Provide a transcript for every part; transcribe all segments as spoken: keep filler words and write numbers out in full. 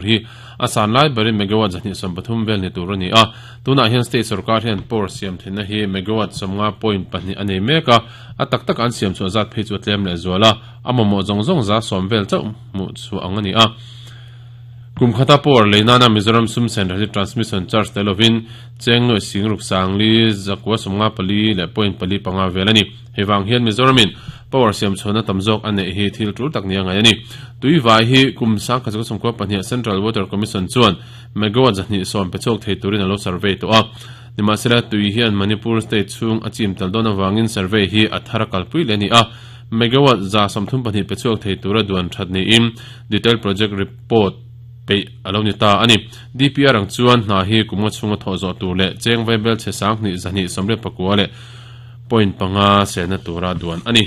Hi asan lai bari megawatt zahni som pathum vel ni tur ani a tuna hian state sarkar hian power siam thina hi megawatt somnga point pahnih ani meka a tak tak an siam chu zat phei chu tlem le zuala amamo zong zong za som vel chau mu chu ang ani a kumkhata power leina na Mizoram sum sen transmission charge telovin chengnoi singruk sangli zakwa somnga pali le point pali panga velani hewang hian Mizoramin power siam chona tamzok ane hi thil tul tak nia ngai ani tuiwai hi kum sang kha som ko pahnih Central Water Commission chuan megawatt zahni som pechok thei turin alo survey to a nimasela tui hian Manipur state chung achim tal don awangin survey hi athara kalpui le ni a megawatt za somthum pahnih pechok thei tura duan thatni im detail project report pe aloni ta ani D P R ang chuan hna hi kumnga chunga thaw zo tur le cheng vaibel che sang ni zahni somre pakua le point panga sena tura duan ani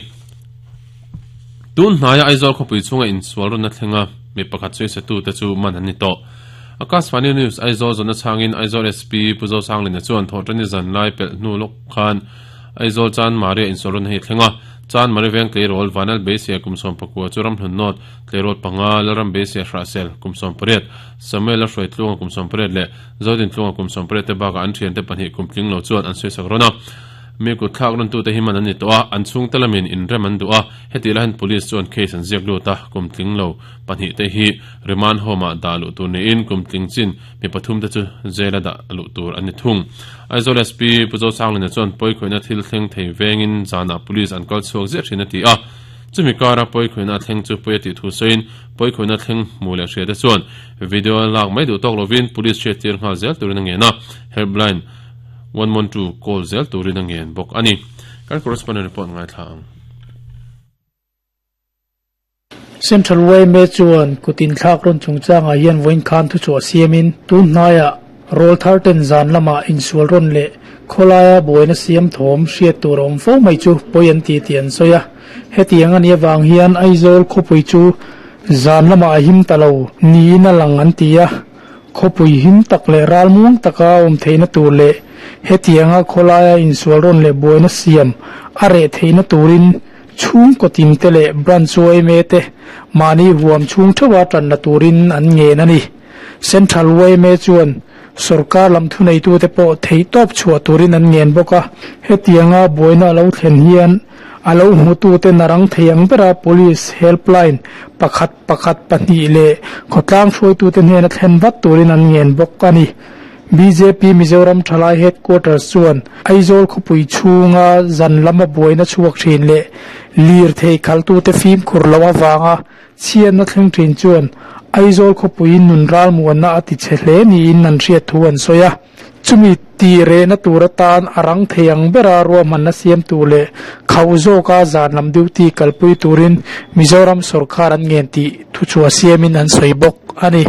tun hnaya Aizawl khawpui chunga insual na thlenga mi pakhat choi se tu te chu man ani to Akashvani News Aizawl zona changin Aizawl S P Puzo Sanglina chuan thawtani zan lai pel hnu lok khan Aizawl chan maria insual run hei thlenga chan mari veng tleirol vanal besia kumsom pakua churam hlun not tleirol panga laram besia hrasel kumsom pariat Samuel hroi tlunga kumsom pariat le zodin tlunga kumsom pariat te baka an thian te pahnih kumtling lo chuan an soi sakrona mi ku thlak ron tu te himan ani to a an chung talamin in reman du a heti lahan police chuan case an ziak lu ta kumtling lo pahnih te hi remand home a da lu tur ni in kumtling chin mi pathum te chu jail a da lu tur ani thung Aizawl S P Puzo Sanglina chuan poi khoina thil thleng thei vengin zana police an kal chuak zet thin ati a chumi kara poi khoina thleng chu poi ti thu soin poi khoina thleng mu le hria te chuan video lak mai du tok lovin police hriat tir nghal zel turin a nge na helpline one one two call zel turin a ngen bawk ani kan correspondent report ngai thlang Central Way me chuan kutin thlak ron chungchanga hian voin khan thu chu siamin tun hnaya roll thirteen zan lama insual ron le kholaya boina siam thom hriat tur awm fo mai chu poi an ti ti an soya hetiang ani awang hian Aizawl khawpui chu zan lama a him talo ni na lang an ti a khawpui him tak le ral muang taka awm theina tur le hetianga kholaya insual ron le boina siam a re theina turin chung kotin te le branch way me te mani huam chung thawa tan na turin an nge na ni Central Way me chuan sarkar lam thu nei tu te pawh thei tawp chhuah turin an ngen bawk a hetianga boina lo thlen hian alo hmutu te narang theiang bera police helpline pakhat pakhat pahnih le khawtlang hruaitu te hnena thlen vat turin an ngen bawk ani B J P Mizoram Thalai headquarters chuan Aizawl khawpui chhunga zan lama buaina chhuak thin le lir thei khaltu te fim khur lo awanga chhian na thleng thin chuan Aizawl khawpui nun ral muanna a ti che hle niin an hriat thu an sawi a chumi ti re na tur atan arang theiang bera ruahman na siam tu le khau zawka zan lam duty kalpui turin Mizoram sarkar an ngen ti thu chu a siamin an sawi bawk ani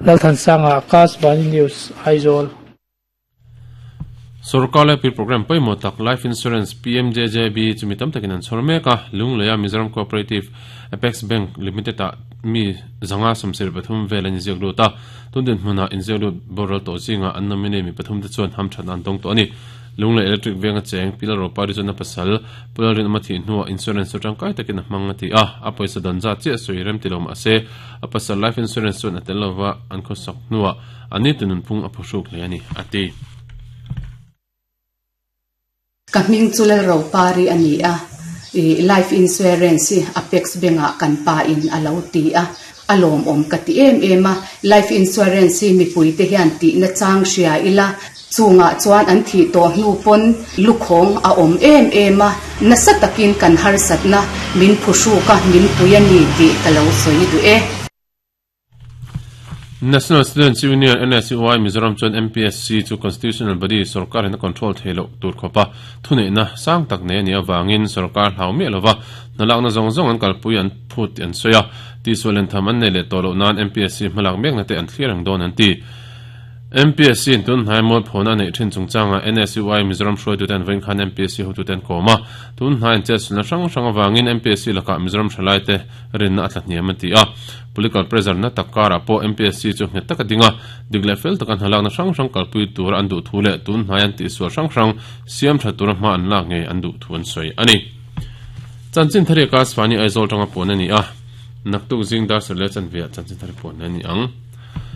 Lalthansanga Akashvani News Aizawl Sarkar le pi program paimo tak life insurance P M J J B chumi tam takin an chhor meka Lungleia Mizoram Cooperative Apex Bank Limited a mi zanga samsir pathum vel an ziak lu ta tundin hmuna in ziak lu boral to zinga an nominee mi pathum te chuan ham than an dong to ani Lunglei Electric venga cheng pilar ro pari chona pasal pularin amathi hnuwa insurance tangkai takin hmanga ti a a paisa dan za che soi rem ti lo ma se a pasal life insurance chuan atel lova an kho sak hnuwa ani tunun phung a phusuk le ani ati ka hming chulal ro pari ani a life insurance Apex Bank kan pa in alo ti a alom om ka ti em em a life insurance mi pui te hian ti na chang hria ila chunga chuan an thi to hnu pon lukhong a om em em a na satakin kan har satna min phushu ka min puiani ti kalo soi du e National Students Union N S U I Mizoram chuan M P S C chu constitutional body sarkar in control theilo tur khopa thune na sang tak ne ni awangin sarkar hlau mi lova nalak na zong zong an kalpui an phut an soya ti solen tham an ne le tolo nan M P S C hmalak mek na te an thlir ang don an ti M P S C in tun haimol phona nei thin chungchanga N S U I Mizoram hroi tu ten vein khan M P S C ho tu ten koma tun hain che na hrang hrang awangin M P S C laka Mizoram thalai te rin na atla hniam an ti a political pressure na takara po M P S C chu nghet taka dinga digle fel takan halak na hrang hrang kalpui tur an du thule tun haian ti sual hrang hrang siam tha tur ma an lak nge an du thuan soi ani chanchin thari ka swani Aizawl tanga pon ani a naktuk jing dar sele chan via chanchin thari pon ani ang.